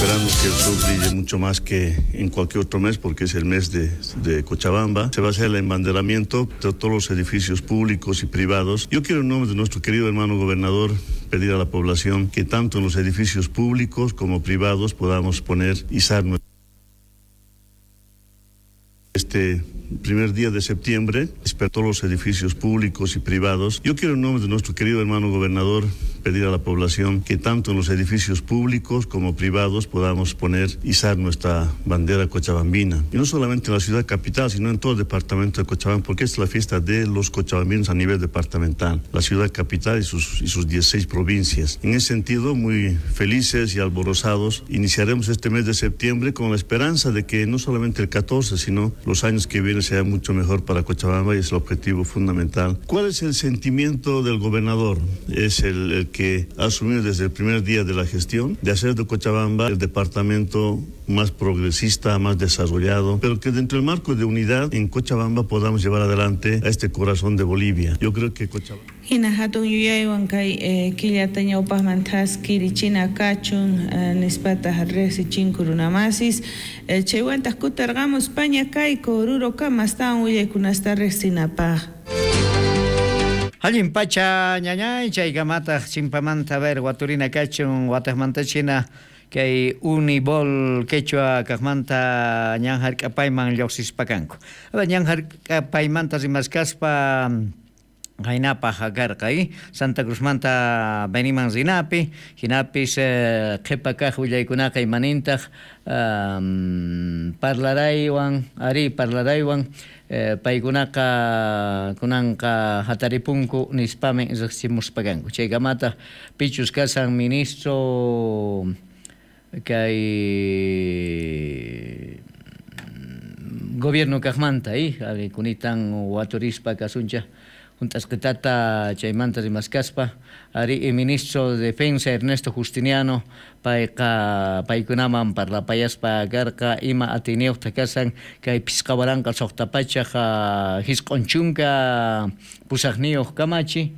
Esperamos que el sol brille mucho más que en cualquier otro mes, porque es el mes de Cochabamba. Se va a hacer el embanderamiento de todos los edificios públicos y privados. Yo quiero, en nombre de nuestro querido hermano gobernador, pedir a la población que tanto en los edificios públicos como privados podamos poner izar este primer día de septiembre, espero todos los edificios públicos y privados. Yo quiero, en nombre de nuestro querido hermano gobernador, pedir a la población que tanto en los edificios públicos como privados podamos poner, izar nuestra bandera cochabambina. Y no solamente en la ciudad capital, sino en todo el departamento de Cochabamba, porque es la fiesta de los cochabambinos a nivel departamental, la ciudad capital y sus 16 provincias. En ese sentido, muy felices y alborozados, iniciaremos este mes de septiembre con la esperanza de que no solamente el 14, sino los años que vienen sea mucho mejor para Cochabamba, y es el objetivo fundamental. ¿Cuál es el sentimiento del gobernador? Es el que ha asumido desde el primer día de la gestión, de hacer de Cochabamba el departamento más progresista, más desarrollado, pero que dentro del marco de unidad en Cochabamba podamos llevar adelante a este corazón de Bolivia. Yo creo que Cochabamba... Hina hatun yuyaywan kay killata ñawpaqman thaskirichina kachun nispataq riqsichinku runamasis chaywantaq kutarqamus paña kayku Orurokama astawan willaykunasta riqsinapaq. Allin pacha ñañay chaykamataq chimpamanta ver waturina kachun wataqmantachina kay Unibol quechua kaqmanta ñan hark'apayman lluqsispakanku. Ñan hark'apaymanta rimaskaspa qaynapaq karqa Santa Cruzmanta Beniman rinapi hinapis qhipa kaq willaykunaqa imanintaq parlaraywan ari parlaraywan paykunaqa kunanqa hataripunku nispamin riqsimuspakanku chaykamataq pichus kasan ministro kay gobierno kaqmanta kunitan waturispa kasuncha hunt'asqitata chaymanta rimaskaspa ari ministro de Defensa Ernesto Justiniano payqa paykunaman parlapayaspa karqa ima atiniyuqta kasan kay pisqa waranqa suqta pachaq hisq'un chunka pusaqniyuq kamachi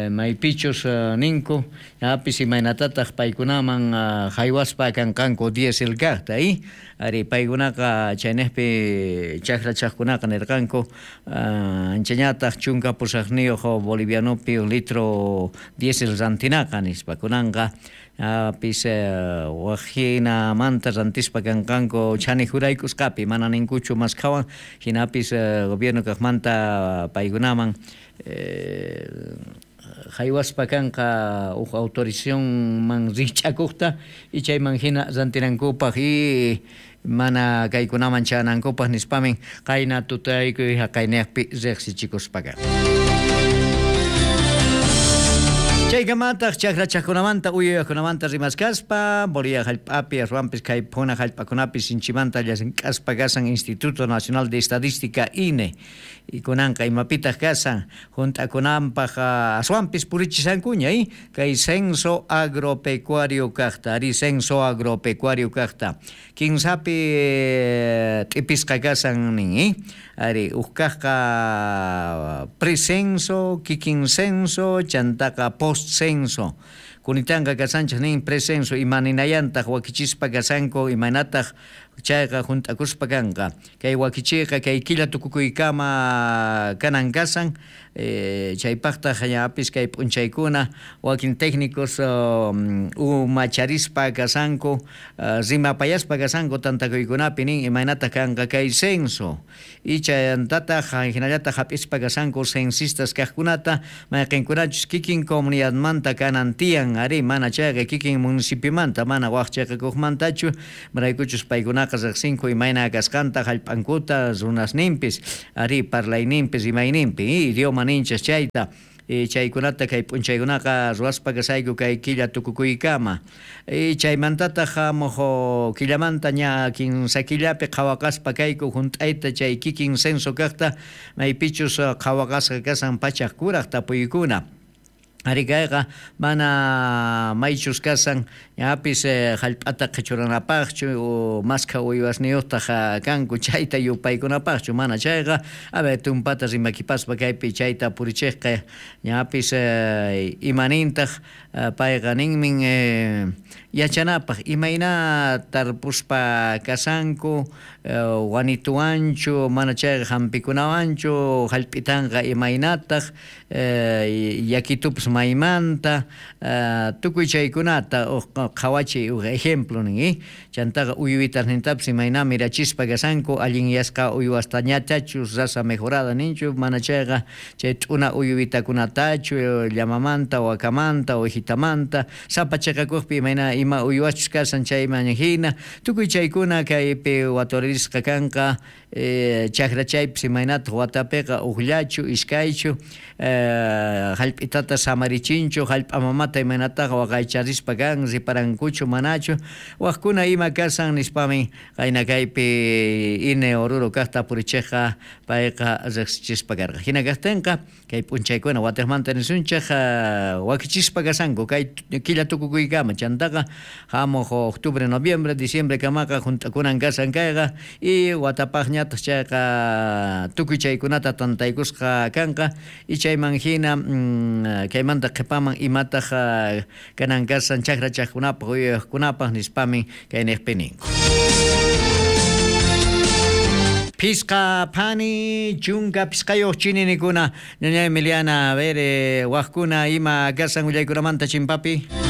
maypichus ninku apis imaynatataq paykunaman haywaspa kanqanku diesel kaqta ari paykunaqa chaynejpi chakrachaqkunaqa nirqanku anchañataq chunka pusaqniyuq bolivianopi litro diesel rantinaqa nispa kunanqa apis waqhinamanta rantispa kanqanku chanijuraykusqapi mana ninkuchu maskhawan hinapis gobierno kaqmanta paykunaman haywaspa kanqa huk autorizacionman rikch'akuqta y chayman hina rantinankupaq y mana kaykunaman chanankupaq nispamin qayna tutaykuy haqayniyaqpi riqsichikuspaqa. Chaykamataq chakrachaqkunamanta uyuyaqkunamanta rimaskaspa Bolivia hallp'api aswanpis kay phuna hallp'akunapi sinchimanta llank'aspa kasan Instituto Nacional de Estadística INE y kunanqa imapitaq kasan hunt'akunanpaq aswanpis purichisankuña kay censo agropecuario kaqta ari censo agropecuario kaqta kinsapi t'ipisqa kasan nin ari huk kaqqa precenso kikin censo chantaqa post censo kunitanqa kasanchaq nin precenso imaninayantaq wakichispa kasanku imaynataq chayqa hunt'akuspa kanqa kay wakichiyqa kay killa tukukuykama kanan kasan chaypaqtaq ñapis kay p'unchaykuna wakin técnicos umacharispa kasanku rimapayaspa kasanku tantakuykunapi nin imaynataq kanqa kay censo y chayantataq hinallataq hap'ispa kasanku censistas kaqkunata mayqinkunachus kikin comunidadmanta kanan tiyan ari mana chayqa kikin municipiomanta mana waq chayqakuqmantachu maraykuchus paykunaqa riqsinku imayna kasqanta hallp'ankuta runasninpis ari parlayninpis imayninpi idioma ninchas chayta chaykunata kay p'unchaykunaqa ruwaspa kasayku kay killa tukukuykama chaymantataq hamuq killamanta ña kinsa killapi qhawaqaspa kayku hunt'ayta chay kikin censo kaqta maypichus qhawaqasqa kasan pachaq kuraq tapuykuna. Arí kayqa mana maychus kashan ñapis jallp'ata qhichuranapaqchu o maskha uywasniyuqtaq kanku chayta yupaykunapaqchu mana chayqa a ver tumpata rimakipaspa kaypi chayta purichiqqa ñapis imanintaq payqa ninmin yachanapaq imayna tarpuspa kashanku wanituwanchu mana chayqa hampikunawanchu jallp'itanqa imaynataq yakitupas maymanta tukuy chaykunata uj qhawachiy uj ejemplo nin chantaqa uywitasnintapis imayna mirachispa kashanku allinyasqa uywastañachachus raza mejorada ninchu mana chayqa chay t'una uywitakunatachu llamamanta wakamanta ovejitamanta sapa chiqakuqpi imayna ima uywaschus kashan chayman hina tukuy chaykuna kaypi waturisqa kanqa chakra chaypis imaynataq watapiqa ujllachu iskaychu jallp'itata samarichinchu jallp'a mamata imaynataqa waqaycharispa kan riparankuchu manachu wajkuna ima kashan nispamin qayna kaypi INE Oruro kaqta purichiqqa payqa riqsichispa karqa hina kaqtinqa kay p'unchaykuna watiqmanta nisunchik wakichispa kashanku kay killa tukukuykama chantaqa hamuq octubre noviembre diciembre kamaqa junt'akunan kashan kayqa y watapaqñataq chayqa tukuy chaykunata tantaykusqa kanqa y chayman hina kaymanta qhipaman imataq kanan kashan chakra chaqkunapaq uywaqkunapaq nispamin kay niqpi ninku. Pisqa phani chunka pisqayuq chininikuna ñaña Emiliana a ver waqkuna ima kashan willaykunamanta chimpapi.